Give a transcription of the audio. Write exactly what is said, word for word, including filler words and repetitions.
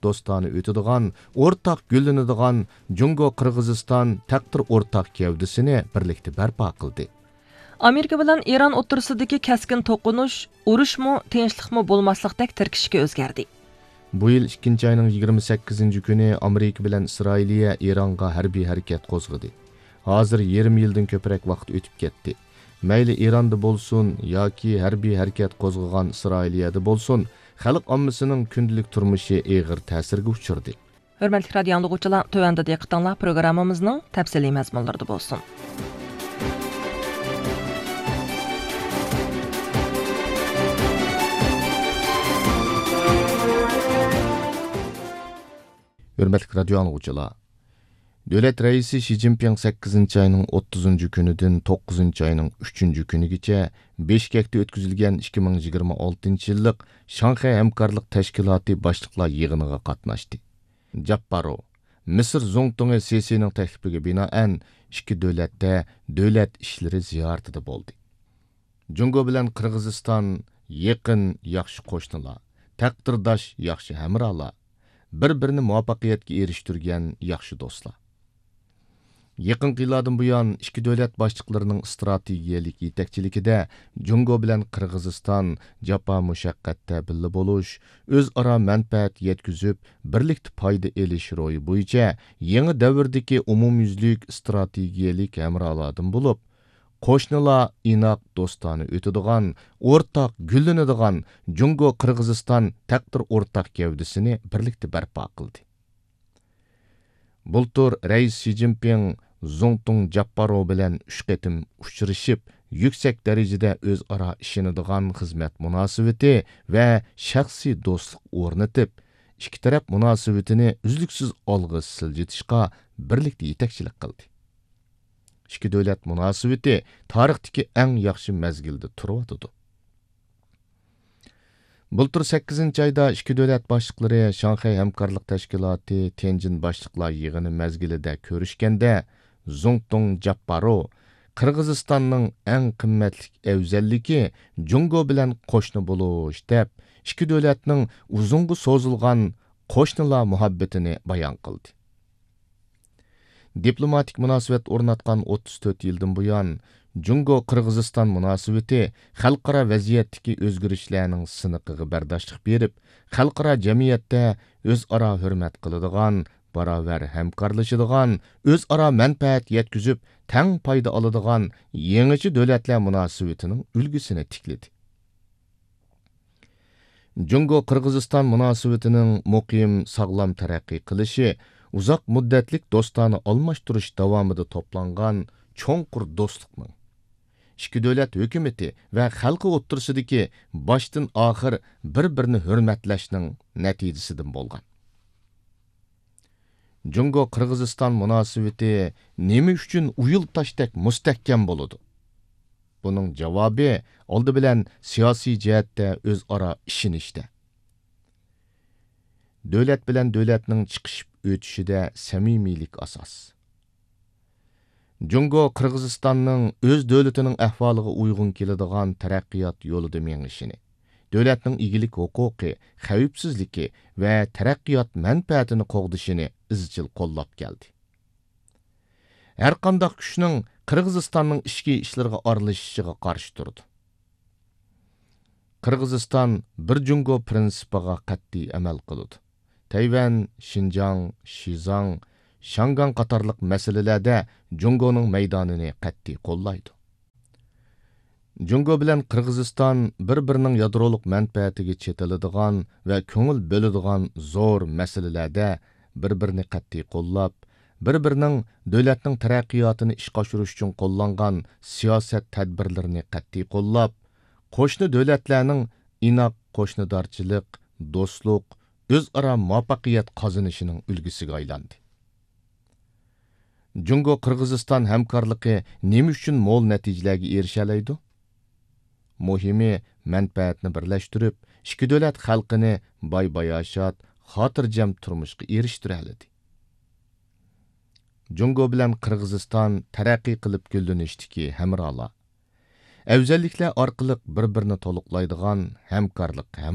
دوستانە ئۆتىدىغان، ئورتاق گۈللىنىدىغان جۇڭگو قىرغىزىستان تەقدىر ئورتاق گەۋدىسىنى بىرلىكتە بەرپا قىلدى. ئامېرىكا بىلەن ئىران ئوتتۇرىسىدىكى كەسكىن توقۇنۇش ئۇرۇشمۇ، تىنچلىقمۇ بولماسلىقتەك تىركىشىگە ئۆزگەردى. بۇ يىل ئىككىنچى ئاينىڭ يىگىرمە سەككىزىنچى كۈنى ئامېرىكا بىلەن ئىسرائىلىيە ئىرانغا ھەربىي ھەرىكەت قوزغىدى. ھازىر يېرىم يىلدىن كۆپرەك ۋاقىت ئۆتۈپ كەتتى. مەيلى ئىراندا بولسۇن ياكى ھەربىي ھەرىكەت قوزغىغان ئىسرائىلىيەدە بولسۇن، خەلق ئاممىسىنىڭ كۈندىلىك تۇرمۇشى ئېغىر تەسىرگە ئۇچرىدى. ھۆرمەتلىك رادىيو ئاڭلىغۇچىلار، تۆۋەندە دىققىتىڭلار پروگراممىمىزنىڭ تەپسىلىي مەزمۇنلىرىدا بولسۇن. ھۆرمەتلىك رادىيو ئاڭلىغۇچىلار، دۆلەت رەئىسى شى جىنپىڭ سەككىزىنچى ئاينىڭ ئوتتۇزىنچى كۈنىدىن توققۇزىنچى ئاينىڭ ئۈچىنچى كۈنىگىچە بېشكەكتە ئۆتكۈزۈلگەن ئىككى مىڭ يىگىرمە ئالتىنچى يىللىق شاڭخەي ھەمكارلىق تەشكىلاتى باشلىقلار يىغىنىغا قاتناشتى. جاپپارو، مىسىر زۇڭتۇڭى سىسىنىڭ تەكلىپىگە بىنائەن، ئىككى دۆلەتتە دۆلەت ئىشلىرى زىيارىتىدە بولدى. جۇڭگو بىلەن قىرغىزىستان يېقىن، ياخشى قوشنىلار، تەقدىرداش، ياخشى ھەمراھلار، بىر-بىرىنى مۇۋەپپەقىيەتكە ئېرىشتۈرگەن ياخشى دوستلار. يېقىنقى يىللاردىن بۇيان، ئىككى دۆلەت باشلىقلىرىنىڭ ئىستراتېگىيەلىك يېتەكچىلىكىدە جۇڭگو بىلەن قىرغىزىستان جاپا مۇشەققەتتە بىللە بولۇش، ئۆزئارا مەنپەئەت يەتكۈزۈپ، بىرلىكتە پايدا ئېلىش روھى بويىچە يېڭى دەۋردىكى ئومۇميۈزلۈك ئىستراتېگىيەلىك ھەمراھلاردىن بولۇپ، قوشنىلار ئىناق، دوستانە ئۆتىدىغان، ئورتاق گۈللىنىدىغان جۇڭگو قىرغىزىستان تەقدىر ئورتاق گەۋدىسىنى بىرلىكتە بەرپا قىلدى. بۇلتۇر رەئىس شى جىنپىڭ زۇڭتۇڭ جاپپارو بىلەن ئۈچ قېتىم ئۇچرىشىپ، يۈكسەك دەرىجىدە ئۆزئارا ئىشىنىدىغان خىزمەت مۇناسىۋىتى ۋە شەخسىي دوستلۇق ئورنىتىپ، ئىككى تەرەپ مۇناسىۋىتىنى ئۈزلۈكسىز ئالغا سىلجىتىشقا بىرلىكتە يېتەكچىلىك قىلدى. ئىككى دۆلەت مۇناسىۋىتى تارىختىكى ئەڭ ياخشى مەزگىلدە تۇرۇۋاتىدۇ. بۇلتۇر سەككىزىنچى ئايدا ئىككى دۆلەت باشلىقلىرى شاڭخەي ھەمكارلىق تەشكىلاتى تيەنجىن باشلىقلار يىغىنى مەزگىلىدە كۆرۈشكەندە، زۇڭتۇڭ جاپپارو قىرغىزىستاننىڭ ئەڭ قىممەتلىك ئەۋزەللىكى جۇڭگو بىلەن قوشنا بولۇش دەپ، ئىككى دۆلەتنىڭ ئۇزۇنغا سوزۇلغان قوشنىلار مۇھەببىتىنى بايان قىلدى. دىپلوماتىك مۇناسىۋەت ئورناتقان ئوتتۇز تۆت يىلدىن بۇيان، جۇڭگو قىرغىزىستان مۇناسىۋىتى خەلقئارا ۋەزىيەتتىكى ئۆزگىرىشلەرنىڭ سىنىقىغا بەرداشلىق بېرىپ، خەلقئارا جەمئىيەتتە ئۆزئارا ھۆرمەت قىلىدىغان، باراۋەر ھەمكارلىشىدىغان، ئۆزئارا مەنپەئەت يەتكۈزۈپ، تەڭ پايدا ئالىدىغان يېڭىچە دۆلەتلەر مۇناسىۋىتىنىڭ ئۈلگىسىنى تىكلىدى. جۇڭگو قىرغىزىستان مۇناسىۋىتىنىڭ مۇقىم، ساغلام تەرەققىي قىلىشى ئۇزاق مۇددەتلىك دوستانە ئالماشتۇرۇش داۋامىدا توپلانغان چوڭقۇر دوستلۇقنىڭ، ئىككى دۆلەت ھۆكۈمىتى ۋە خەلقى ئوتتۇرىسىدىكى باشتىن ئاخىر بىر-بىرىنى ھۆرمەتلەشنىڭ نەتىجىسىدىن بولغان. جۇڭگو قىرغىزىستان مۇناسىۋىتى نېمە ئۈچۈن ئۇيۇل تاشتەك مۇستەھكەم بولىدۇ؟ بۇنىڭ جاۋابى ئالدى بىلەن سىياسىي جەھەتتە ئۆزئارا ئىشىنىشتە. دۆلەت بىلەن دۆلەتنىڭ چىقىشىپ ئۆتۈشىدە سەمىمىيلىك ئاساس. جۇڭگو قىرغىزىستاننىڭ ئۆز دۆلىتىنىڭ ئەھۋالىغا ئۇيغۇن كېلىدىغان تەرەققىيات يولىدا مېڭىشىنى، دۆلەتنىڭ ئىگىلىك ھوقۇقى، خەۋپسىزلىكى ۋە تەرەققىيات مەنپەئەتىنى قوغدىشىنى ئىزچىل قوللاپ كەلدى. ھەرقانداق كۈچنىڭ قىرغىزىستاننىڭ ئىچكى ئىشلىرىغا ئارىلىشىشىغا قارشى تۇرىدۇ. قىرغىزىستان بىر جۇڭگو پىرىنسىپىغا قەتئىي ئەمەل قىلىدۇ. تەيۋەن، شىنجاڭ، شىزاڭ، شياڭگاڭ قاتارلىق مەسىلىلەردە جۇڭگونىڭ مەيدانىنى قەتئىي قوللايدۇ. جۇڭگو بىلەن قىرغىزىستان بىر-بىرىنىڭ يادرولۇق مەنپەئەتىگە چېتىلىدىغان ۋە كۆڭۈل بۆلىدىغان زور مەسىلىلەردە بىر-بىرىنى قەتئىي قوللاپ، بىر-بىرىنىڭ دۆلەتنىڭ تەرەققىياتىنى ئىشقا ئاشۇرۇش ئۈچۈن قوللانغان سىياسەت تەدبىرلىرىنى قەتئىي قوللاپ، قوشنا دۆلەتلەرنىڭ ئىناق قوشنىدارچىلىق، دوستلۇق، ئۆزئارا مۇۋەپپەقىيەت قازىنىشىنىڭ ئۈلگىسىگە ئايلاندى. جۇڭگو قىرغىزىستان ھەمكارلىقى نېمە ئۈچۈن مول نەتىجىلەرگە ئېرىشەلەيدۇ؟ مۇھىمى، مەنپەئەتنى بىرلەشتۈرۈپ، ئىككى دۆلەت خەلقىنى باي-باياشات، خاتىرجەم تۇرمۇشقا ئېرىشتۈرەلىدى. جۇڭگو بىلەن قىرغىزىستان تەرەققىي قىلىپ گۈللىنىشتىكى ھەمراھلار. ئەۋزەللىكلەر ئارقىلىق بىر-بىرىنى تولۇقلايدىغان ھەمكارلىق ھەم